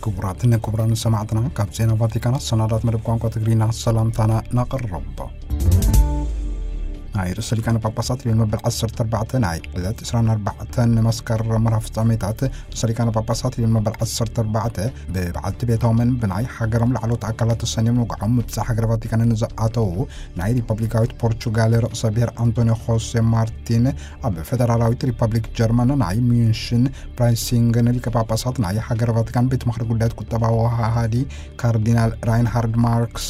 ክቡራትን ክቡራን ሰማዕትና፣ ካብ ዜና ቫቲካን ኣሰናዳት መደብ ቋንቋ ትግርኛ ሰላምታና ነቕርብ። ናይ ርእሰ ሊቃነ ጳጳሳት ሊዮን መበል ዓሰርተ ኣርባዕተ ናይ ዕለት ዕስራን ኣርባዕተን መስከረም መርሃ ፍጻሜታት፣ ርእሰ ሊቃነ ጳጳሳት ሊዮን መበል ዓሰርተ ኣርባዕተ ብበዓልቲ ቤቶምን ብናይ ሃገሮም ላዕለዎት ኣካላት ተሰንዮም ንውግዖም ምብጻሕ ሃገረ ቫቲካንን ዝኣተዉ ናይ ሪፐብሊካዊት ፖርቹጋል ርእሰ ብሔር ኣንቶኒዮ ሆሴ ማርቲን፣ ኣብ ፈደራላዊት ሪፐብሊክ ጀርመን ናይ ሚዩንሽን ፕራይሲንግን ሊቀ ጳጳሳት ናይ ሃገረ ቫቲካን ቤት ምኽሪ ጉዳያት ቁጠባዊ ወሃሃዲ ካርዲናል ራይንሃርድ ማርክስ፣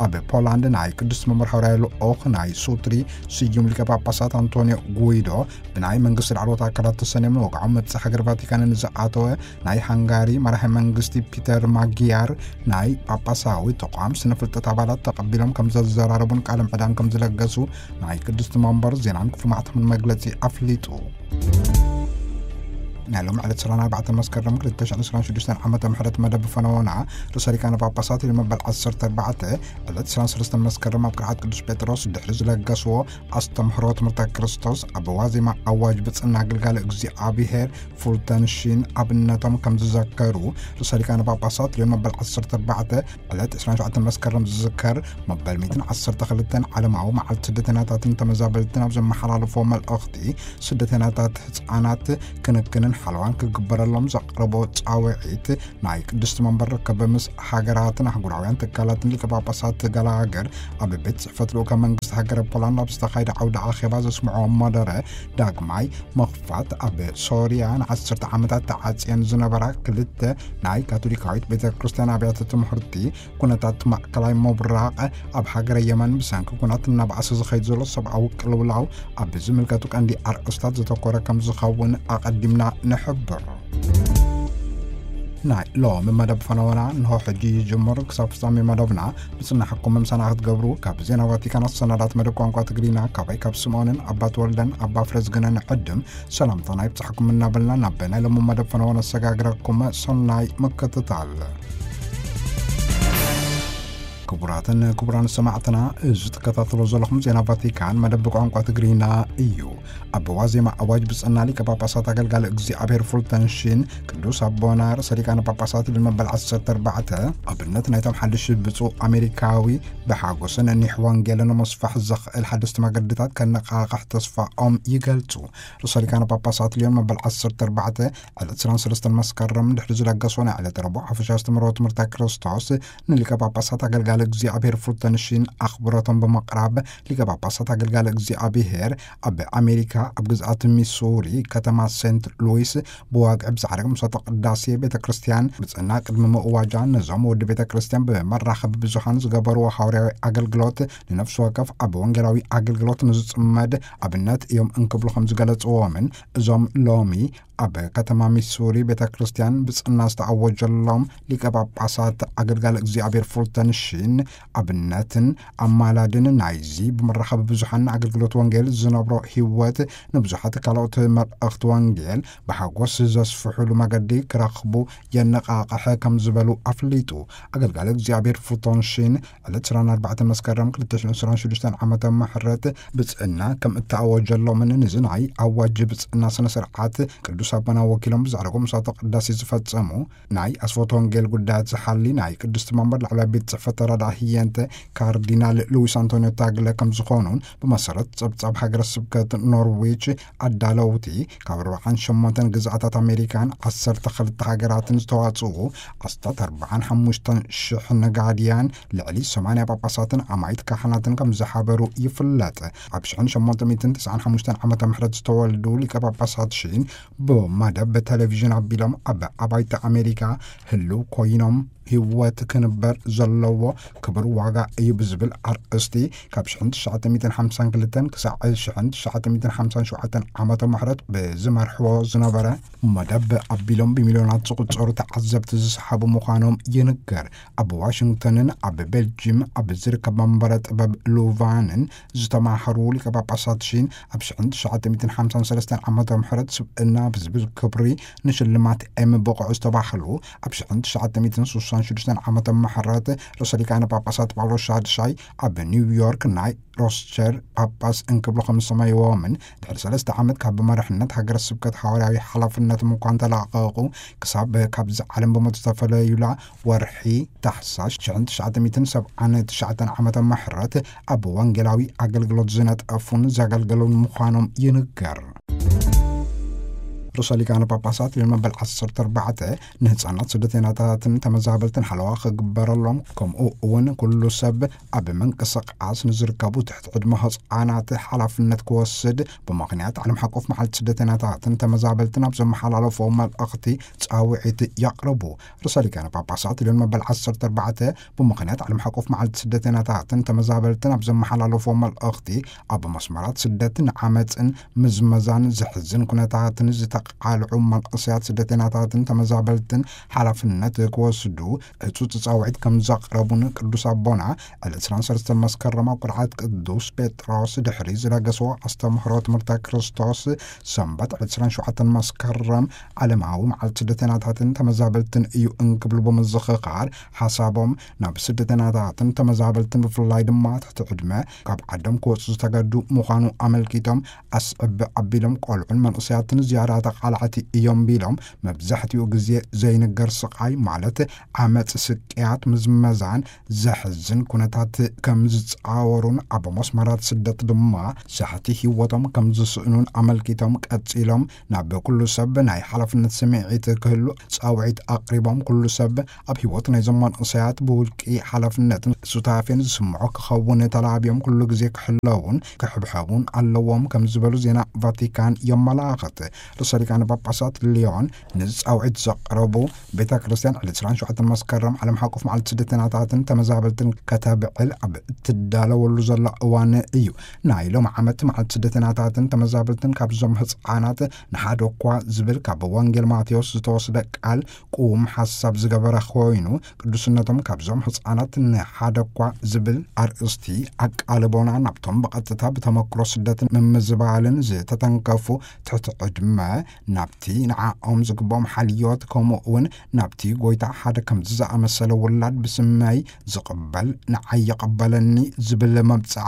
ኣብ ፖላንድ ናይ ቅዱስ መምህር ሃዋርያዊ ልኡኽ ናይ ሱትሪ ስዩም ሊቀ ጳጳሳት ኣንቶኒዮ ጉይዶ፣ ብናይ መንግስቲ ላዕለዎት ኣካላት ተሰንዮም ንወግዖም ምብጻሕ ሃገር ቫቲካንን ዝኣተወ ናይ ሃንጋሪ መራሒ መንግስቲ ፒተር ማጊያር፣ ናይ ጳጳሳዊ ተቋም ስነ ፍልጠት ኣባላት ተቐቢሎም ከም ዘዘራረቡን ቃለ ምዕዳን ከም ዝለገሱ ናይ ቅድስቲ መንበር ዜናን ክፍሉ ማዕተምን መግለጺ ኣፍሊጡ። ናይ ሎም ዕለት ዕስራን ኣርባዕተን መስከረም ክልተ ሽሕን ዕስራን ሽዱሽተን ዓመተ ምሕረት መደብ ፈነወና ርእሰ ሊቃነ ጳጳሳት ሊዮን መበል ዓሰርተ ኣርባዕተ ዕለት ዕስራን ሰለስተን መስከረም ኣብ ቅርዓት ቅዱስ ጴጥሮስ ድሕሪ ዝለገስዎ ኣስተምህሮ ትምህርተ ክርስቶስ፣ ኣብ ዋዜማ ኣዋጅ ብጽና ኣገልጋሊ እግዚኣብሔር ፉልተንሺን ኣብነቶም ከም ዝዘከሩ ርእሰ ሊቃነ ጳጳሳት ሊዮን መበል ዓሰርተ ኣርባዕተ ዕለት ዕስራን ሸውዓተን መስከረም ዝዝከር፣ መበል ሚእትን ዓሰርተ ክልተን ዓለማዊ መዓልቲ ስደተኛታትን ተመዛበልትን ኣብ ዘመሓላለፎ መልእኽቲ፣ ስደተኛታት ህጻናት ክንክንን ሓለዋን ክግበረሎም ዘቕረቦ ጻውዒት፣ ናይ ቅድስቲ መንበር ርክብ ምስ ሃገራትን ኣህጉራውያን ትካላትን ሊቀ ጳጳሳት ገለ ሃገር ኣብ ቤት ጽሕፈት ልኡከ መንግስቲ ሃገረ ፖላንድ ኣብ ዝተኻየደ ዓውደ ኣኼባ ዘስምዖ መደረ፣ ዳግማይ ምኽፋት፣ ኣብ ሶርያ ንዓሰርተ ዓመታት ተዓጽየን ዝነበራ ክልተ ናይ ካቶሊካዊት ቤተ ክርስቲያን ኣብያተ ትምህርቲ፣ ኩነታት ማእከላይ ምብራቕ፣ ኣብ ሃገረ የመን ብሰንኪ ኩናት እናበኣሰ ዝኸይድ ዘሎ ሰብኣዊ ቅልውላው ኣብ ዝምልከቱ ቀንዲ ኣርእስታት ዘተኮረ ከም ዝኸውን ኣቐዲምና ንሕብር። ናይ ሎሚ መደብ ፈነወና እንሆ ሕጂ ይጅምር። ክሳብ ፍጻሜ መደብና ብጽናሕኩም ምሳና ክትገብሩ ካብ ዜና ቫቲካን ኣሰናዳት መደብ ቋንቋ ትግርኛ ካባይ ካብ ስምዖንን ኣባ ተወልደን ኣባ ፍረዝግነን ዕድም ሰላምታና ይብጻሕኩም እናበልና ናብ ናይ ሎሚ መደብ ፈነወ ነሰጋግረኩም። ሰናይ ምክትታል። ክቡራትን ክቡራን ሰማዕትና፣ እዚ ትከታተሎ ዘለኹም ዜና ቫቲካን መደብ ቋንቋ ትግርኛ እዩ። ኣብ ዋዜማ ኣዋጅ ብጽና ሊቀ ጳጳሳት ኣገልጋሊ እግዚኣብሔር ፉልተንሺን፣ ቅዱስ ኣቦና ርእሰ ሊቃነ ጳጳሳት ሊዮን መበል ዓሰርተ ኣርባዕተ፣ ኣብነት ናይቶም ሓድሽ ብፁዕ ኣሜሪካዊ ብሓጎስን ኒሕ ወንጌልን ንምስፋሕ ዘኽእል ሓደስቲ መገድታት ከነቓቕሕ ተስፋኦም ይገልጹ። ርእሰ ሊቃነ ጳጳሳት ሊዮን መበል ዓሰርተ ኣርባዕተ ዕለት ዕስራን ሰለስተን መስከረም ድሕሪ ዝለገሶ ናይ ዕለተ ረቡዕ ሓፈሻ ኣስተምህሮ ትምህርተ ክርስቶስ፣ ንሊቀ ጳጳሳት ኣገልጋሊ እግዚኣብሔር ፉልተንሺን ኣኽብሮቶም ብምቕራብ፣ ሊቀ ጳጳሳት ኣገልጋሊ እግዚኣብሔር ኣብ ኣሜሪካ ኣብ ግዝኣት ሚሱሪ ከተማ ሴንት ሉዊስ ብዋግዒ ብዛዕረግ ምሳተ ቅዳሴ ቤተ ክርስቲያን ብጽና ቅድሚ ምእዋጃ ነዞም ወዲ ቤተ ክርስቲያን ብመራኸቢ ብዙሃን ዝገበርዎ ሃዋርያዊ ኣገልግሎት ንነፍሲ ወከፍ ኣብ ወንጌላዊ ኣገልግሎት ንዝጽመድ ኣብነት እዮም እንክብሉ ከም ዝገለጽዎምን እዞም ሎሚ ኣብ ከተማ ሚሱሪ ቤተ ክርስቲያን ብጽና ዝተኣወጀሎም ሊቀ ጳጳሳት ኣገልጋሊ እግዚኣብሔር ፉልተንሺን ኣብነትን ኣማላድን ናይዚ ብመራኸቢ ብዙሓን ኣገልግሎት ወንጌል ዝነብሮ ህይወት ንብዙሓት ካልኦት መልእኽቲ ወንጌል ብሓጎስ ዘስፍሑሉ መገዲ ክረኽቡ የነቓቕሐ ከም ዝበሉ ኣፍሊጡ። ኣገልጋሊ እግዚኣብሔር ፉልተንሺን ዕለት ዕስራን ኣርባዕተን መስከረም ክልተ ሽሕን ዕስራን ሽዱሽተን ዓመተ ምሕረት ብጽእና ከም እተኣወጀሎምን ንዚ ናይ ኣዋጅ ብጽእና ስነ ስርዓት ቅዱስ ኣቦና ወኪሎም ብዛዕረጎ ምሳተ ቅዳሴ ዝፈጸሙ ናይ ኣስፎቶ ወንጌል ጉዳያት ዝሓሊ ናይ ቅድስቲ መንበር ላዕለዋይ ቤት ጽሕፈት ተራዳእ ህየንተ ካርዲናል ሉዊስ ኣንቶኒዮ ታግለ ከም ዝኾኑን ብመሰረት ጸብጻብ ሃገረ ስብከት ኖርዊች ኣዳለውቲ ካብ ኣርባዓን ሸሞንተን ግዝኣታት ኣሜሪካን ዓሰርተ ክልተ ሃገራትን ዝተዋጽኡ ኣስታት ኣርባዓን ሓሙሽተን ሽሕ ነጋድያን ልዕሊ ሰማንያ ጳጳሳትን ኣማይት ካህናትን ከም ዝሓበሩ ይፍለጥ። ኣብ ሽሕን ሸሞንተ ሚእትን ተስዓን ሓሙሽተን ዓመተ ምሕረት ዝተወልዱ ሊቀ ጳጳሳት ሺን ብመደብ ብቴሌቪዥን ኣቢሎም ኣብ ኣባይቲ ኣሜሪካ ህልው ኮይኖም ህይወት ክንበር ዘለዎ ክብር ዋጋ እዩ ብዝብል ኣርእስቲ ካብ ሽሕን ትሽዓተ ሚእትን ሓምሳን ክልተን ክሳዕ ሽሕን ትሽዓተ ሚእትን ሓምሳን ሸውዓተን ዓመተ ምሕረት ብዝመርሕዎ ዝነበረ መደብ ኣቢሎም ብሚልዮናት ዝቑጸሩ ተዓዘብቲ ዝሰሓቡ ምዃኖም ይንገር። ኣብ ዋሽንግተንን ኣብ ቤልጂም ኣብ ዝርከብ መንበረ ጥበብ ሉቫንን ዝተማህሩ ሊቀ ጳጳሳት ሺን ኣብ ሽሕን ትሽዓተ ሚእትን ሓምሳን ሰለስተን ዓመተ ምሕረት ስብእና ዝብል ክብሪ ንሽልማት ኤም ብቑዕ ዝተባህሉ፣ ኣብ ሽሕን ትሽዓተ ሚእትን ስሳን ሽዱሽተን ዓመተ ምሕረት ርእሰ ሊቃነ ጳጳሳት ጳውሎስ ሻድሻይ ኣብ ኒውዮርክ ናይ ሮስቸር ጳጳስ እንክብሉ ከም ዝሰመይዎምን ድሕሪ ሰለስተ ዓመት ካብ መራሕነት ሃገረ ስብከት ሃዋርያዊ ሓላፍነቶም እኳ እንተላቐቑ፣ ክሳብ ካብዚ ዓለም ብሞት ዝተፈለዩላ ወርሒ ታሕሳስ ሽሕን ትሽዓተ ሚእትን ሰብዓን ትሽዓተን ዓመተ ምሕረት ኣብ ወንጌላዊ ኣገልግሎት ዝነጠፉን ዘገልገሉን ምዃኖም ይንገር። ርእሰ ሊቃነ ጳጳሳት ሊዮን መበል ዓሰርተ ኣርባዕተ ንህፃናት ስደተኛታትን ተመዛበልትን ሓለዋ ክግበረሎም፣ ከምኡ እውን ኩሉ ሰብ ኣብ ምንቅስቃስ ንዝርከቡ ትሕቲ ዕድመ ህፃናት ሓላፍነት ክወስድ ብምኽንያት ዓለም ሓቆፍ መዓልቲ ስደተኛታትን ተመዛበልትን ኣብ ዘመሓላለፎ መልእኽቲ ጻውዒት የቕርቡ። ርእሰ ሊቃነ ጳጳሳት ሊዮን መበል ዓሰርተ ኣርባዕተ ብምኽንያት ዓለም ሓቆፍ መዓልቲ ስደተኛታትን ተመዛበልትን ኣብ ዘመሓላለፎ መልእኽቲ፣ ኣብ መስመራት ስደትን ዓመፅን ምዝመዛን ዘሕዝን ኩነታትን ዝተቃልዑ መንእሰያት ስደተኛታትን ተመዛበልትን ሓላፍነት ክወስዱ ህጹጽ ጻውዒት ከም ዘቕረቡን ቅዱስ ኣቦና ዕለት ዕስራን ሰለስተን መስከረም ኣብ ቅርዓት ቅዱስ ጴጥሮስ ድሕሪ ዝለገስዎ ኣስተምህሮ ትምህርተ ክርስቶስ ሰንበት ዕለት ዕስራን ሸውዓተን መስከረም ዓለማዊ መዓልቲ ስደተኛታትን ተመዛበልትን እዩ እንክብሉ ብምዝኽኻር ሓሳቦም ናብ ስደተኛታትን ተመዛበልትን ብፍላይ ድማ ትሕቲ ዕድመ ካብ ዓዶም ክወጹ ዝተገዱ ምዃኑ ኣመልኪቶም ኣስዕብ ኣቢሎም ቆልዑን መንእሰያትን ዝያዳ ተቓላዕቲ እዮም ቢሎም መብዛሕትኡ ግዜ ዘይንገር ስቓይ ማለት ዓመጽ፣ ስቅያት፣ ምዝመዛን ዘሕዝን ኩነታት ከም ዝጻወሩን ኣብ መስመራት ስደት ድማ ሳሕቲ ህይወቶም ከም ዝስእኑን ኣመልኪቶም ቀጺሎም ናብ ኩሉ ሰብ ናይ ሓላፍነት ስምዒት ክህሉ ጻውዒት ኣቕሪቦም ኩሉ ሰብ ኣብ ህይወት ናይዞም መንእሰያት ብውልቂ ሓላፍነትን ሱታፌን ዝስምዖ ክኸውን ተላብዮም ኩሉ ግዜ ክሕለውን ክሕብሐቡን ኣለዎም ከም ዝበሉ ዜና ቫቲካን የመላኽት። ርእሰ ሊቃነ ጳጳሳት ሊዮን ንዚ ጻውዒት ዘቕረቡ ቤተ ክርስቲያን ዕለት ዕስራን ሸውዓተን መስከረም ዓለም ሓቆፍ መዓልቲ ስደተኛታትን ተመዛበልትን ከተብዕል ኣብ እትዳለወሉ ዘላ እዋን እዩ። ናይ ሎም ዓመት መዓልቲ ስደተኛታትን ተመዛበልትን ካብዞም ህፃናት ንሓደ እኳ ዝብል ካብ ወንጌል ማቴዎስ ዝተወስደ ቃል ቁም ሓሳብ ዝገበረ ኮይኑ ቅዱስነቶም ካብዞም ህፃናት ንሓደ እኳ ዝብል ኣርእስቲ ኣቃልቦና ናብቶም ብቐጥታ ብተመክሮ ስደትን ምምዝባልን ዝተተንከፉ ትሕቲ ዕድመ ናብቲ ንዓኦም ዝግብኦም ሓልዮት ከምኡ እውን ናብቲ ጎይታ ሓደ ከምዚ ዝኣመሰለ ውላድ ብስመይ ዝቕበል ንዓይ ይቐበለኒ ዝብል መብፅዓ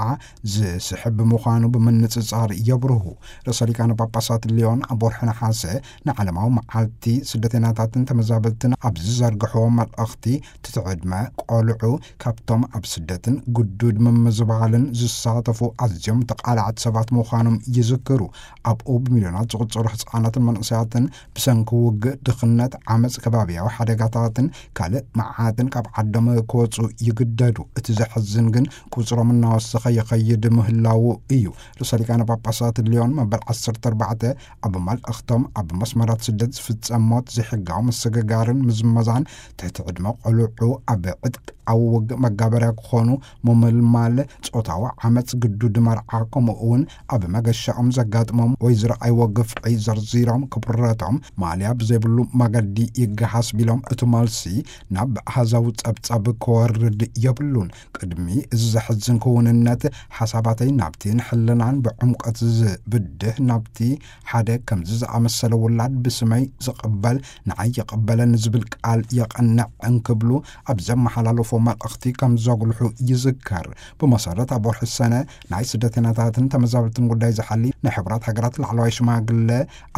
ዝስሕብ ምዃኑ ብምንጽጻር የብርሁ። ርእሰ ሊቃነ ጳጳሳት ሊዮን ኣብ ወርሒ ነሓሰ ንዓለማዊ መዓልቲ ስደተኛታትን ተመዛበልትን ኣብ ዝዘርግሕዎ መልእኽቲ ትሕቲ ዕድመ ቆልዑ ካብቶም ኣብ ስደትን ግዱድ ምምዝባልን ዝሳተፉ ኣዝዮም ተቓላዕቲ ሰባት ምዃኖም ይዝክሩ። ኣብኡ ብሚልዮናት ዝቑጸሩ ህጻናትን መንእሰያትን ብሰንኪ ውግእ፣ ድኽነት፣ ዓመጽ፣ ከባብያዊ ሓደጋታትን ካልእ መዓትን ካብ ዓዶም ክወጹ ይግደዱ። እቲ ዘሕዝን ግን ቁጽሮም እናወሰኸ ይኸይድ ምህላዉ እዩ። ርእሰ ሊቃነ ጳጳሳት ሊዮን መበል ዓሰርተ ኣርባዕተ ኣብ መልእኽቶም ኣብ መስመራት ስደት ዝፍጸም ሞት፣ ዘይሕጋዊ ምስግጋርን ምዝመዛን ትሕቲ ዕድመ ቆልዑ ኣብ ዕጥቃዊ ውግእ መጋበርያ ክኾኑ ምምልማል፣ ጾታዊ ዓመጽ፣ ግዱድ መርዓ፣ ከምኡ እውን ኣብ መገሻኦም ዘጋጥሞም ወይ ዝረኣይዎ ግፍዒ ዘርዚሮም ክብረቶም ማልያ ብዘይብሉ መገዲ ይገሃስ ቢሎም እቲ መልሲ ናብ ኣሃዛዊ ጸብጻብ ክወርድ የብሉን። ቅድሚ እዚ ዘሕዝን ክውንነት ሓሳባተይ ናብቲ ንሕልናን ብዕምቆት ዝብድህ ናብቲ ሓደ ከምዚ ዝኣመሰለ ውላድ ብስመይ ዝቕበል ንዓይ ይቐበለኒ ዝብል ቃል የቐንዕ እንክብሉ ኣብ ዘመሓላለፎ መልእኽቲ ከም ዘጉልሑ ይዝከር። ብመሰረት ኣብ ወርሒ ሰነ ናይ ስደተኛታትን ተመዛበልትን ጉዳይ ዝሓሊ ናይ ሕቡራት ሃገራት ላዕለዋይ ሽማግለ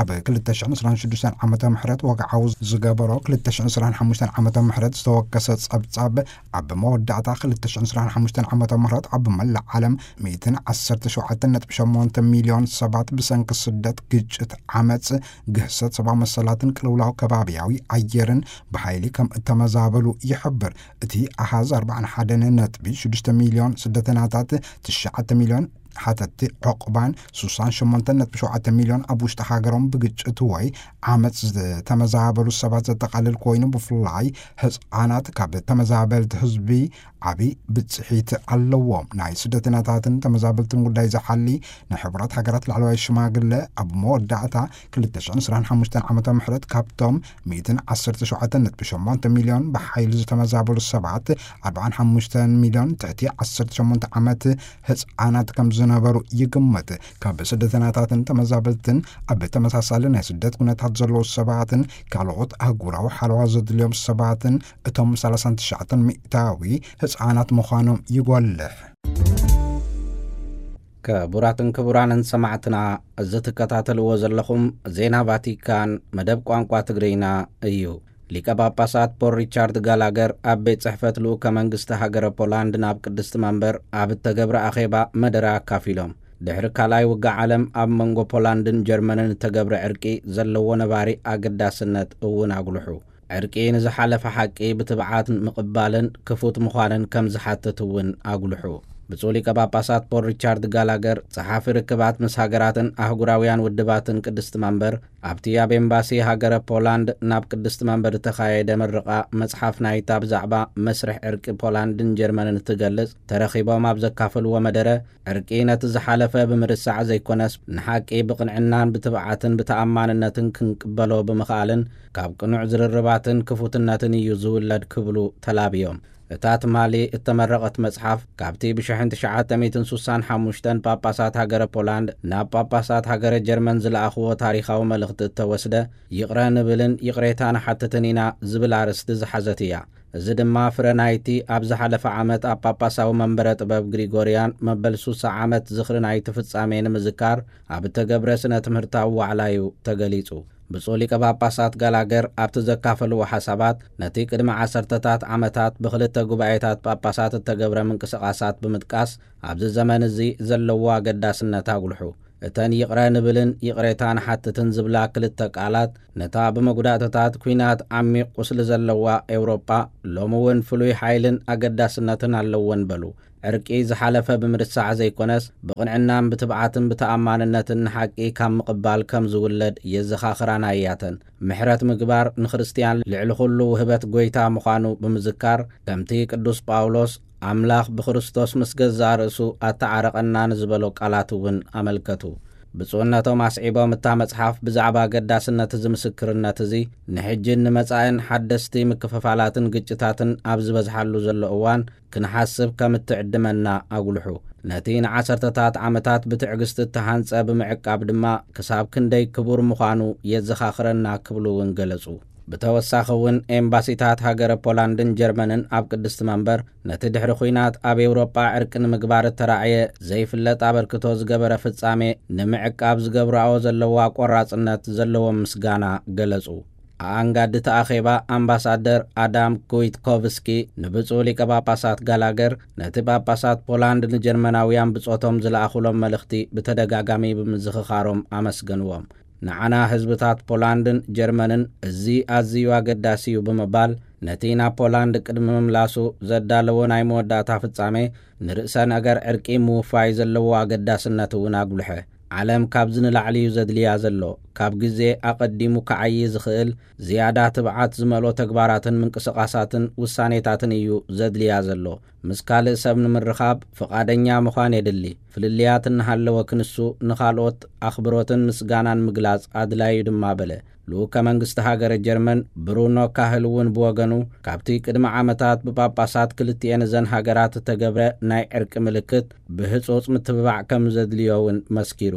ኣብ ክልተ ሽሕን ዕስራን ሽዱሽተን ዓመተ ምህረት ወግዓዊ ዝገበሮ ክልተ ሽሕን ዕስራን ሓሙሽተን ዓመተ ምህረት ዝተወከሰ ጸብጻብ ኣብ መወዳእታ ክልተ ሽሕን ዕስራን ሓሙሽተን ዓመተ ምህረት ኣብ መላእ ዓለም ሚእትን ዓሰርተ ሸውዓተን ነጥቢ ሸሞንተ ሚልዮን ሰባት ብሰንኪ ስደት፣ ግጭት፣ ዓመጽ፣ ግህሰት ሰብኣዊ መሰላትን ቅልውላው ከባብያዊ ኣየርን ብሓይሊ ከም እተመዛበሉ ይሕብር። እቲ ኣሃዝ ኣርባዓን ሓደን ነጥቢ ሽዱሽተ ሚልዮን ስደተኛታት፣ ትሽዓተ ሚልዮን ሓተቲ ዑቕባን ሱሳን ሸሞንተ ነጥቢ ሸውዓተ ሚልዮን ኣብ ውሽጢ ሃገሮም ብግጭት ወይ ዓመጽ ዝተመዛበሉ ሰባት ዘጠቓልል ኮይኑ፣ ብፍላይ ህጻናት ካብ ተመዛበልቲ ህዝቢ ዓቢ ብጽሒት ኣለዎም። ናይ ስደተኛታትን ተመዛበልትን ጉዳይ ዝሓሊ ናይ ሕቡራት ሃገራት ላዕለዋይ ሽማግለ ኣብ መወዳእታ ክልተ ሽሕን ዕስራን ሓሙሽተን ዓመተ ምህረት ካብቶም ሚእትን ዓሰርተ ሸውዓተን ነጥቢ ሸሞንተ ሚልዮን ብሓይሊ ዝተመዛበሉ ሰባት ኣርባዓን ሓሙሽተን ሚልዮን ትሕቲ ዓሰርተ ሸሞንተ ዓመት ህጻናት ከም ዝነበሩ ይግመት። ካብ ስደተኛታትን ተመዛበልትን ኣብ ተመሳሳሊ ናይ ስደት ኩነታት ዘለዉ ሰባትን ካልኦት ኣህጉራዊ ሓለዋ ዘድልዮም ሰባትን እቶም ሰላሳን ትሽዓተን ሚእታዊ ህፃናት ምዃኖም ይጎልሕ። ክቡራትን ክቡራንን ሰማዕትና፣ እዚ ትከታተልዎ ዘለኹም ዜና ቫቲካን መደብ ቋንቋ ትግርኛ እዩ። ሊቀ ጳጳሳት ፖል ሪቻርድ ጋላገር ኣብ ቤት ጽሕፈት ልኡከ መንግስቲ ሃገረ ፖላንድ ናብ ቅድስቲ መንበር ኣብ እተገብረ ኣኼባ መደረ ኣካፊሎም። ድሕሪ ካልኣይ ውግእ ዓለም ኣብ መንጎ ፖላንድን ጀርመንን እተገብረ ዕርቂ ዘለዎ ነባሪ ኣገዳስነት እውን ኣጉልሑ። ዕርቂ ንዝሓለፈ ሓቂ ብትብዓት ምቕባልን ክፉት ምዃንን ከም ዝሓትት እውን ኣጉልሑ። ብፁዕ ሊቀ ጳጳሳት ፖል ሪቻርድ ጋላገር፣ ጸሓፊ ርክባት ምስ ሃገራትን ኣህጉራውያን ውድባትን ቅድስቲ መንበር፣ ኣብቲ ኣብ ኤምባሲ ሃገረ ፖላንድ ናብ ቅድስቲ መንበር እተኻየደ ምርቓ መጽሓፍ ናይታ ብዛዕባ መስርሕ ዕርቂ ፖላንድን ጀርመንን እትገልጽ ተረኺቦም ኣብ ዘካፈልዎ መደረ፣ ዕርቂ ነቲ ዝሓለፈ ብምርሳዕ ዘይኮነስ፣ ንሓቂ ብቕንዕናን ብትብዓትን ብተኣማንነትን ክንቅበሎ ብምኽኣልን ካብ ቅኑዕ ዝርርባትን ክፉትነትን እዩ ዝውለድ ክብሉ ተላብዮም። እታ ትማሊ እተመረቐት መጽሓፍ፣ ካብቲ ብሽሕን ትሽዓተ ሚእትን ሱሳን ሓሙሽተን ጳጳሳት ሃገረ ፖላንድ ናብ ጳጳሳት ሃገረ ጀርመን ዝለኣኽዎ ታሪኻዊ መልእኽቲ እተወስደ፣ "ይቕረ ንብልን ይቕሬታ ንሓትትን ኢና" ዝብል ኣርእስቲ ዝሓዘት እያ። እዚ ድማ ፍረ ናይቲ ኣብ ዝሓለፈ ዓመት ኣብ ጳጳሳዊ መንበረ ጥበብ ግሪጎርያን መበል ሱሳ ዓመት ዝኽሪ ናይቲ ፍጻሜ ንምዝካር ኣብ እተገብረ ስነ ትምህርታዊ ዋዕላ እዩ ተገሊጹ። ብፁዕ ሊቀ ጳጳሳት ጋላገር ኣብቲ ዘካፈልዎ ሓሳባት፣ ነቲ ቅድሚ ዓሰርተታት ዓመታት ብኽልተ ጉባኤታት ጳጳሳት እተገብረ ምንቅስቓሳት ብምጥቃስ፣ ኣብዚ ዘመን እዚ ዘለዎ ኣገዳስነት ኣጉልሑ። እተን "ይቕረ ንብልን ይቕሬታ ንሓትትን" ዝብላ ክልተ ቃላት፣ ነታ ብመጉዳእትታት ኲናት ዓሚቕ ቁስሊ ዘለዋ ኤውሮጳ፣ ሎሚ እውን ፍሉይ ሓይልን ኣገዳስነትን ኣለወን በሉ። ዕርቂ ዝሓለፈ ብምርሳዕ ዘይኮነስ፣ ብቕንዕናን ብትብዓትን ብተኣማንነትን ንሓቂ ካብ ምቕባል ከም ዝውለድ የዘኻኽራና እያተን። ምሕረት ምግባር ንክርስትያን ልዕሊ ኩሉ ውህበት ጐይታ ምዃኑ ብምዝካር፣ ከምቲ ቅዱስ ጳውሎስ፣ "ኣምላኽ ብክርስቶስ ምስ ገዛእ ርእሱ ኣተዓረቐና" ንዝበሎ ቃላት እውን ኣመልከቱ። ብፁዕነቶም ኣስዒቦም፣ እታ መጽሓፍ ብዛዕባ ኣገዳስነት እዚ ምስክርነት እዚ፣ ንሕጅን ንመጻእን ሓደስቲ ምክፍፋላትን ግጭታትን ኣብ ዝበዝሓሉ ዘሎ እዋን፣ ክንሓስብ ከም እትዕድመና ኣጉልሑ። ነቲ ንዓሰርተታት ዓመታት ብትዕግስቲ እተሃንጸ ብምዕቃብ ድማ፣ ክሳብ ክንደይ ክቡር ምዃኑ የዘኻኽረና ክብሉ እውን ገለጹ። ብተወሳኺ እውን፣ ኤምባሲታት ሃገረ ፖላንድን ጀርመንን ኣብ ቅድስቲ መንበር፣ ነቲ ድሕሪ ኲናት ኣብ ኤውሮጳ ዕርቂ ንምግባር እተራእየ ዘይፍለጥ ኣበርክቶ ዝገበረ ፍጻሜ ንምዕቃብ ዝገብራኦ ዘለዋ ቆራጽነት ዘለዎም ምስጋና ገለጹ። ኣኣንጋዲ እቲ ኣኼባ፣ ኣምባሳደር ኣዳም ኩዊትኮቭስኪ፣ ንብፁዕ ሊቀ ጳጳሳት ጋላገር፣ ነቲ ጳጳሳት ፖላንድ ንጀርመናውያን ብጾቶም ዝለኣኹሎም መልእኽቲ ብተደጋጋሚ ብምዝኽኻሮም ኣመስገንዎም። "ንዓና ህዝብታት ፖላንድን ጀርመንን እዚ ኣዝዩ ኣገዳሲ እዩ" ብምባል፣ ነቲ ናብ ፖላንድ ቅድሚ ምምላሱ ዘዳለዎ ናይ መወዳእታ ፍጻሜ፣ ንርእሰ ነገር ዕርቂ ምውፋይ ዘለዎ ኣገዳስነት እውን ኣጉልሐ። "ዓለም ካብዚ ንላዕሊ እዩ ዘድልያ ዘሎ። ካብ ግዜ ኣቐዲሙ ክዓዪ ዝኽእል ዝያዳ ትብዓት ዝመልኦ ተግባራትን ምንቅስቓሳትን ውሳኔታትን እዩ ዘድልያ ዘሎ። ምስ ካልእ ሰብ ንምርኻብ ፍቓደኛ ምዃን የድሊ። ፍልልያት እናሃለወ ክንሱ ንኻልኦት ኣኽብሮትን ምስጋናን ምግላጽ ኣድላዩ ድማ" በለ። ልኡከ መንግስቲ ሃገረ ጀርመን ብሩኖ ካህል እውን ብወገኑ፣ ካብቲ ቅድሚ ዓመታት ብጳጳሳት ክልቲኤን እዘን ሃገራት እተገብረ ናይ ዕርቂ ምልክት ብህጹጽ ምትብባዕ ከም ዘድልዮ እውን መስኪሩ።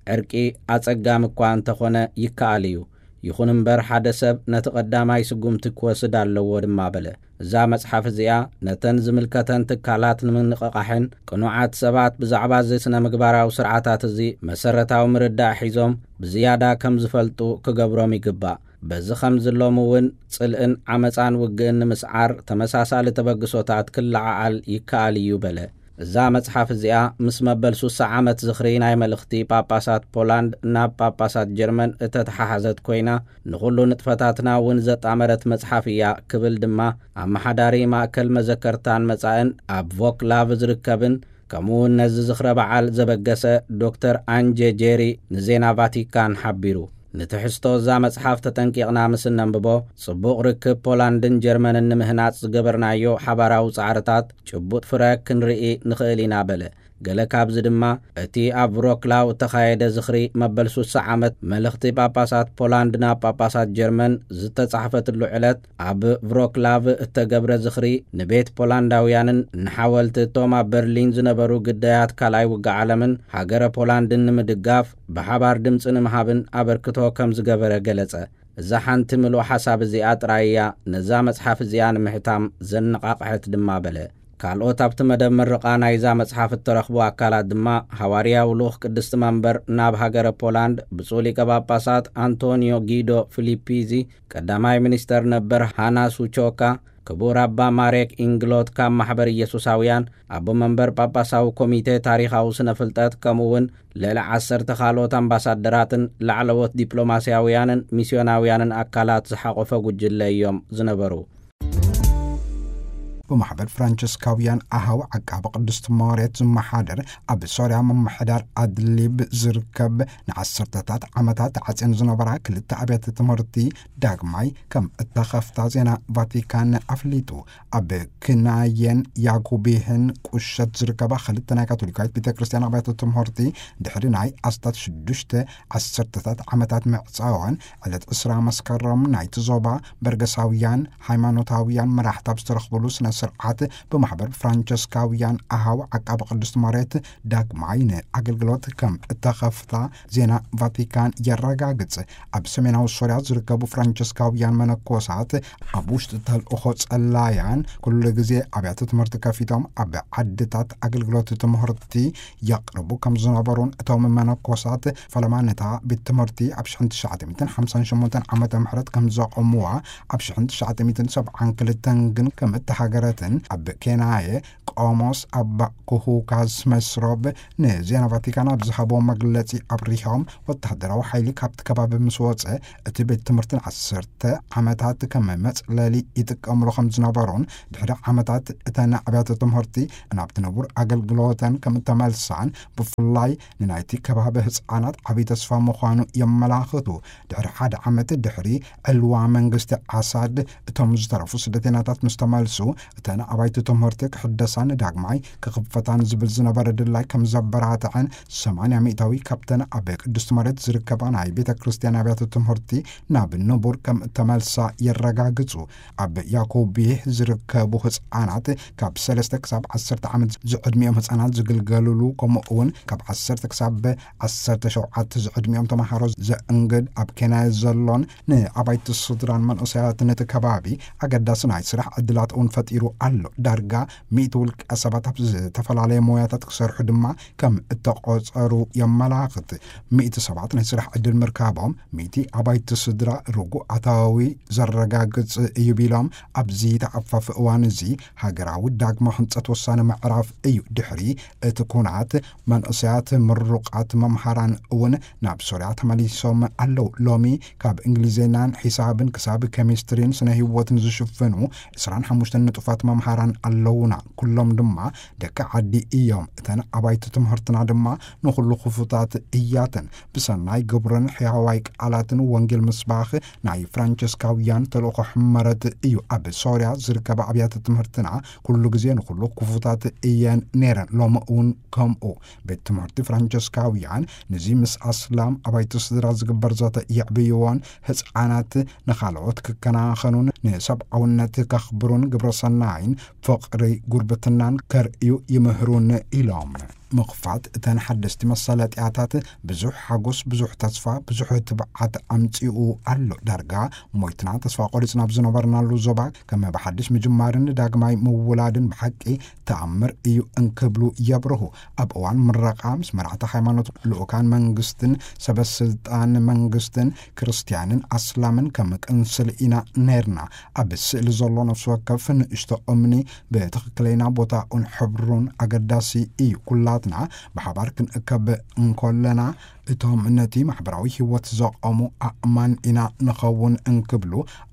"ዕርቂ ኣጸጋሚ እኳ እንተኾነ ይከኣል እዩ። ይኹን እምበር፣ ሓደ ሰብ ነቲ ቀዳማይ ስጉምቲ ክወስድ ኣለዎ" ድማ በለ። እዛ መጽሓፍ እዚኣ፣ ነተን ዝምልከተን ትካላት ንምንቕቓሕን ቅኑዓት ሰባት ብዛዕባ እዚ ስነ ምግባራዊ ስርዓታት እዚ መሰረታዊ ምርዳእ ሒዞም ብዝያዳ ከም ዝፈልጡ ክገብሮም ይግባእ። በዚ ከም ዝሎም እውን፣ ጽልእን ዓመጻን ውግእን ንምስዓር ተመሳሳሊ ተበግሶታት ክለዓዓል ይከኣል እዩ በለ። እዛ መጽሓፍ እዚኣ፣ ምስ መበል ሱሳ ዓመት ዝኽሪ ናይ መልእኽቲ ጳጳሳት ፖላንድ ናብ ጳጳሳት ጀርመን እተተሓሓዘት ኮይና፣ ንኹሉ ንጥፈታትና እውን ዘጣመረት መጽሓፍ እያ ክብል ድማ፣ ኣመሓዳሪ ማእከል መዘከርታን መጻእን ኣብ ቮክላቭ ዝርከብን፣ ከምኡ እውን ነዚ ዝኽረ በዓል ዘበገሰ ዶክተር ኣንጀ ጄሪ ንዜና ቫቲካን ሓቢሩ። ንትሕዝቶ እዛ መጽሓፍ ተጠንቂቕና ምስ እነንብቦ፣ ጽቡቕ ርክብ ፖላንድን ጀርመንን ንምህናጽ ዝገበርናዮ ሓባራዊ ጻዕርታት ጭቡጥ ፍረ ክንርኢ ንኽእል ኢና በለ። ገለ ካብዚ ድማ እቲ ኣብ ቭሮክላው እተኻየደ ዝኽሪ መበል ሱሳ ዓመት መልእኽቲ ጳጳሳት ፖላንድ ናብ ጳጳሳት ጀርመን ዝተጻሕፈትሉ ዕለት፣ ኣብ ቭሮክላቭ እተገብረ ዝኽሪ ንቤት ፖላንዳውያንን ንሓወልቲ እቶም ኣብ በርሊን ዝነበሩ ግዳያት ካልኣይ ውግእ ዓለምን ሃገረ ፖላንድን ንምድጋፍ ብሓባር ድምፂ ንምሃብን ኣበርክቶ ከም ዝገበረ ገለጸ። እዛ ሓንቲ ምሉእ ሓሳብ እዚኣ ጥራይ እያ ነዛ መጽሓፍ እዚኣ ንምሕታም ዘነቓቕሐት ድማ በለ። ካልኦት ኣብቲ መደብ ምርቓ ናይዛ መጽሓፍ እተረኽቡ ኣካላት ድማ፣ ሃዋርያዊ ልኡኽ ቅድስቲ መንበር ናብ ሃገረ ፖላንድ ብፁዕ ሊቀ ጳጳሳት ኣንቶኒዮ ጊዶ ፊሊፒዚ፣ ቀዳማይ ሚኒስተር ነበር ሃና ሱቾካ፣ ክቡር ኣባ ማሬክ ኢንግሎት ካብ ማሕበር ኢየሱሳውያን፣ ኣቦ መንበር ጳጳሳዊ ኮሚቴ ታሪኻዊ ስነ ፍልጠት፣ ከምኡ እውን ልዕሊ ዓሰርተ ካልኦት ኣምባሳደራትን ላዕለዎት ዲፕሎማስያውያንን ሚስዮናውያንን ኣካላት ዝሓቖፈ ጉጅለ እዮም ዝነበሩ። ብማሕበር ፍራንቸስካውያን ኣሃው ዓቃቢ ቅድስቲ ማርያት ዝመሓደር፣ ኣብ ሶርያ ምምሕዳር ኣድሊብ ዝርከብ ንዓሰርተታት ዓመታት ተዓጽየን ዝነበራ ክልተ ኣብያተ ትምህርቲ ዳግማይ ከም እተኸፍታ ዜና ቫቲካን ኣፍሊጡ። ኣብ ክናየን ያኩቢህን ቁሸት ዝርከባ ክልተ ናይ ካቶሊካዊት ቤተ ክርስቲያን ኣብያተ ትምህርቲ፣ ድሕሪ ናይ ኣስታት ሽዱሽተ ዓሰርተታት ዓመታት ምዕጻወን፣ ዕለት ዕስራ መስከረም ናይቲ ዞባ በርገሳውያን ሃይማኖታውያን መራሕቲ ኣብ ዝተረኽብሉ ስነ ስርዓት፣ ብማሕበር ፍራንቸስካውያን ኣሃው ዓቃቢ ቅድስቲ ማርያት ዳግማይ ንኣገልግሎት ከም እተኸፍታ ዜና ቫቲካን የረጋግጽ። ኣብ ሰሜናዊ ሶርያ ዝርከቡ ፍራንቸስካውያን መነኮሳት፣ ኣብ ውሽጢ ተልእኾ ጸላያን፣ ኩሉ ግዜ ኣብያተ ትምህርቲ ከፊቶም ኣብ ዓድታት ኣገልግሎት ትምህርቲ የቕርቡ ከም ዝነበሩን፣ እቶም መነኮሳት ፈለማ ነታ ቤት ትምህርቲ ኣብ ሽሕን ትሽዓተ ሚእትን ሓምሳን ሸሞንተን ዓመተ ምህረት ከም ዘቖምዋ፣ ኣብ ሽሕን ትሽዓተ ሚእትን ሰብዓን ክልተን ግን ከም እተሃገረትን፣ ኣብ ኬናየ ቆሞስ ኣባ ኩሁካዝ መስሮብ ንዜና ቫቲካን ኣብ ዝሃቦ መግለጺ ኣብሪሆም፣ ወተሃደራዊ ሓይሊ ካብቲ ከባቢ ምስ ወጸ፣ እቲ ቤት ትምህርቲ ንዓሰርተ ዓመታት ከም መጽለሊ ይጥቀምሉ ከም ዝነበሩን፣ ድሕሪ ዓመታት እተን ኣብያተ ትምህርቲ ናብቲ ንቡር ኣገልግሎተን ከም እተመልሳን፣ ብፍላይ ንናይቲ ከባቢ ህጻናት ዓቢ ተስፋ ምዃኑ የመላኽቱ። ድሕሪ ሓደ ዓመት ድሕሪ ዕልዋ መንግስቲ ኣሳድ፣ እቶም ዝተረፉ ስደተኛታት ምስ ተመልሱ፣ እተን ኣባይቲ ትምህርቲ ክሕደሳን ዳግማይ ክኽፈታን ዝብል ዝነበረ ድላይ ከም ዘበራትዐን፣ ሰማንያ ሚእታዊ ካብተን ኣብ ቅድስቲ መሬት ዝርከባ ናይ ቤተ ክርስቲያን ኣብያተ ትምህርቲ ናብ ንቡር ከም እተመልሳ የረጋግጹ። ኣብ ያኮቤህ ዝርከቡ ህጻናት፣ ካብ ሰለስተ ክሳብ ዓሰርተ ዓመት ዝዕድሚኦም ህጻናት ዝግልገልሉ፣ ከምኡ እውን ካብ ዓሰርተ ክሳብ ዓሰርተ ሸውዓተ ዝዕድሚኦም ተማሃሮ ዘእንግድ፣ ኣብ ኬንያ ዘሎን ንኣባይቲ ስድራን መንእሰያትን እቲ ከባቢ ኣገዳሲ ናይ ስራሕ ዕድላት እውን ፈጢሩ ኣሎ። ዳርጋ ሚእቲ ውልቀ ሰባት ኣብ ዝተፈላለየ ሞያታት ክሰርሑ ድማ ከም እተቖጸሩ የመላኽት። ሚእቲ ሰባት ናይ ስራሕ ዕድል ምርካቦም፣ ሚእቲ ኣባይቲ ስድራ ርጉእ ኣታዊ ዘረጋግጽ እዩ ቢሎም፣ ኣብዚ ተኣፋፊ እዋን እዚ ሃገራዊ ዳግመ ህንጸት ወሳኒ ምዕራፍ እዩ። ድሕሪ እቲ ኩናት፣ መንእሰያት ምሩቓት መምሃራን እውን ናብ ሶርያ ተመሊሶም ኣለዉ። ሎሚ ካብ እንግሊዝኛን ሒሳብን ክሳብ ኬሚስትሪን ስነ ህይወትን ዝሽፍኑ ዕስራን ሓሙሽተን ንጡፋት መምሃራን ኣለዉና። ኩሎም ድማ ደቂ ዓዲ እዮም። እተን ኣባይቲ ትምህርትና ድማ ንኹሉ ክፉታት እያተን። ብሰናይ ግብርን ሕያዋይ ቃላትን ወንጌል ምስባኽ ናይ ፍራንቸስካውያን ተልእኾ ሕመረት እዩ። ኣብ ሶርያ ዝርከባ ኣብያተ ትምህርትና ኩሉ ግዜ ንኹሉ ክፉታት እየን ነይረን። ሎሚ እውን ከምኡ። ቤት ትምህርቲ ፍራንቸስካውያን ነዚ ምስ ኣስላም ኣባይቲ ስድራ ዝግበር ዘተ የዕብይዎን፣ ህጻናት ንኻልኦት ክከናኸኑን ንሰብኣውነት ከኽብሩን ግብረ ሰናይን ፍቕሪ ጉርብትናን ከርእዩ ይምህሩን ኢሎም። ምኽፋት እተን ሓደስቲ መሳለጥያታት ብዙሕ ሓጎስ፣ ብዙሕ ተስፋ፣ ብዙሕ ትብዓት ኣምጺኡ ኣሎ። ዳርጋ ሞይትና ተስፋ ቆሪጽና ኣብ ዝነበርናሉ ዞባ፣ ከም ብሓድሽ ምጅማርን ዳግማይ ምውላድን ብሓቂ ተኣምር እዩ እንክብሉ የብርሁ። ኣብ እዋን ምረቓ ምስ መራሕቲ ሃይማኖት፣ ልኡካን መንግስትን ሰበ ስልጣን መንግስትን፣ ክርስትያንን ኣስላምን ከም ቅንስል ኢና ነይርና። ኣብ ስእሊ ዘሎ ነፍሲ ወከፍ ንእሽቶ እምኒ ብትኽክለኛ ቦታኡን ሕብሩን ኣገዳሲ እዩ። ኩላትና ብሓባር ክንእከብ እንኮለና፣ እቶም ነቲ ማሕበራዊ ህይወት ዘቐሙ ኣእማን ኢና ንኸውን እንክብሉ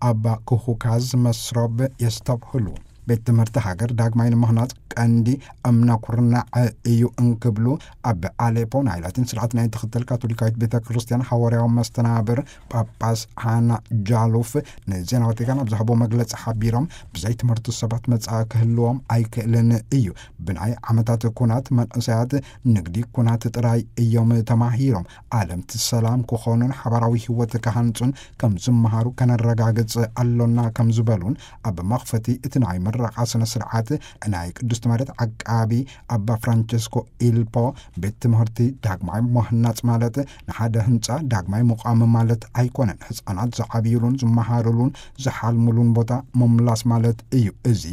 ኣባ ክሁካዝ መስሮብ የስተብህሉ። ቤት ትምህርቲ ሃገር ዳግማይ ንምህናጽ ቀንዲ እምነ ኩርናዕ እዩ እንክብሉ፣ ኣብ ኣሌፖ ናይ ላቲን ስርዓት ናይ ትኽተል ካቶሊካዊት ቤተ ክርስቲያን ሃዋርያዊ መስተናብር ጳጳስ ሃና ጃሉፍ ንዜና ቫቲካን ኣብ ዝሃቦ መግለጺ ሓቢሮም፣ ብዘይ ትምህርቲ ሰባት መጻኢ ክህልዎም ኣይክእልን እዩ። ብናይ ዓመታት ኩናት መንእሰያት ንግዲ ኩናት ጥራይ እዮም ተማሂሮም። ዓለምቲ ሰላም ክኾኑን ሓባራዊ ህይወት ክሃንጹን ከም ዝመሃሩ ከነረጋግጽ ኣሎና ከም ዝበሉን፣ ኣብ መኽፈቲ እቲ ናይ ምረቓ ስነ ስርዓት ናይ ቅድስቲ መሬት ዓቃቢ ኣባ ፍራንቸስኮ ኢልፖ፣ ቤት ትምህርቲ ዳግማይ ምህናጽ ማለት ንሓደ ህንጻ ዳግማይ ምቋም ማለት ኣይኮነን። ህጻናት ዝዓብዩሉን ዝመሃሩሉን ዝሓልሙሉን ቦታ ምምላስ ማለት እዩ። እዚ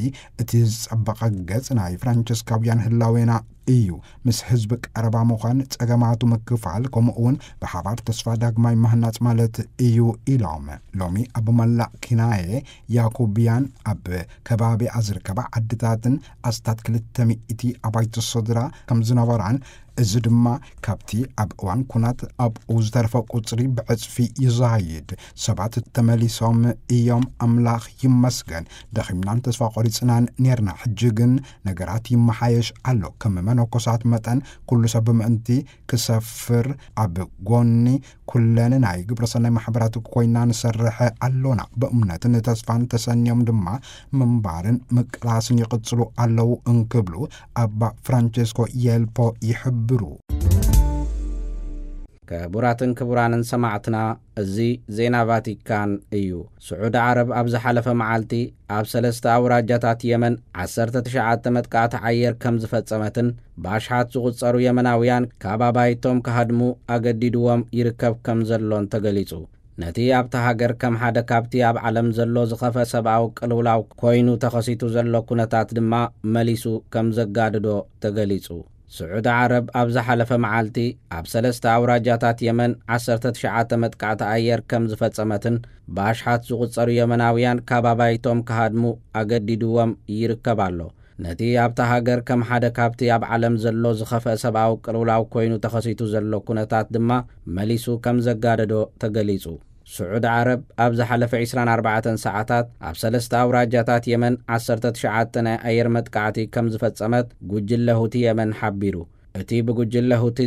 እቲ ዝጸበቐ ገጽ ናይ ፍራንቸስካውያን ህላዌና እዩ። ምስ ህዝቢ ቀረባ ምዃን፣ ጸገማቱ ምክፋል፣ ከምኡ እውን ብሓባር ተስፋ ዳግማይ ምህናጽ ማለት እዩ ኢሎም። ሎሚ ኣብ መላእ ኪናየ ያኩብያን ኣብ ከባቢኣ ዝርከባ ዓድታትን ኣስታት ክልተ ሚእቲ ኣባይቲ ስድራ ከም ዝነበራን፣ እዚ ድማ ካብቲ ኣብ እዋን ኩናት ኣብኡ ዝተረፈ ቁጽሪ ብዕጽፊ ይዛይድ። ሰባት ተመሊሶም እዮም፣ ኣምላኽ ይመስገን። ደኺምናን ተስፋ ቆሪጽናን ኔርና፣ ሕጂ ግን ነገራት ይመሓየሽ ኣሎ። ከም መነኮሳት መጠን ኩሉ ሰብ ብምእንቲ ክሰፍር ኣብ ጎኒ ኩለን ናይ ግብረሰናይ ማሕበራት ኮይና ንሰርሕ ኣሎና። ብእምነትን ተስፋን ተሰንዮም ድማ ምንባርን ምቅላስን ይቕጽሉ ኣለዉ እንክብሉ ኣባ ፍራንቸስኮ የልፖ ይሕብሩ። ክቡራትን ክቡራንን ሰማዕትና፣ እዚ ዜና ቫቲካን እዩ። ስዑዲ ዓረብ ኣብ ዝሓለፈ መዓልቲ ኣብ ሰለስተ ኣውራጃታት የመን ዓሰርተ ትሽዓተ መጥቃዕቲ ኣየር ከም ዝፈጸመትን ብኣሽሓት ዝቑጸሩ የመናውያን ካብ ኣባይቶም ክሃድሙ ኣገዲድዎም ይርከብ ከም ዘሎን ተገሊጹ። ነቲ ኣብታ ሃገር ከም ሓደ ካብቲ ኣብ ዓለም ዘሎ ዝኸፍአ ሰብኣዊ ቅልውላው ኮይኑ ተኸሲቱ ዘሎ ኩነታት ድማ መሊሱ ከም ዘጋድዶ ተገሊጹ። ስዑዲ ዓረብ ኣብ ዝሓለፈ መዓልቲ ኣብ ሰለስተ ኣውራጃታት የመን ዓሰርተ ትሽዓተ መጥቃዕቲ ኣየር ከም ዝፈጸመትን ብኣሽሓት ዝቑጸሩ የመናውያን ካብ ኣባይቶም ክሃድሙ ኣገዲድዎም ይርከብ ኣሎ። ነቲ ኣብታ ሃገር ከም ሓደ ካብቲ ኣብ ዓለም ዘሎ ዝኸፍአ ሰብኣዊ ቅልውላው ኮይኑ ተኸሲቱ ዘሎ ኩነታት ድማ መሊሱ ከም ዘጋደዶ ተገሊጹ። ስዑዲ ዓረብ ኣብ ዝሓለፈ ዕስራን ኣርባዕተን ሰዓታት ኣብ ሰለስተ ኣውራጃታት የመን ዓሰርተ ትሽዓተ ናይ ኣየር መጥቃዕቲ ከም ዝፈጸመት ጉጅለ ሁቲ የመን ሓቢሩ። እቲ ብጉጅለ ሁቲ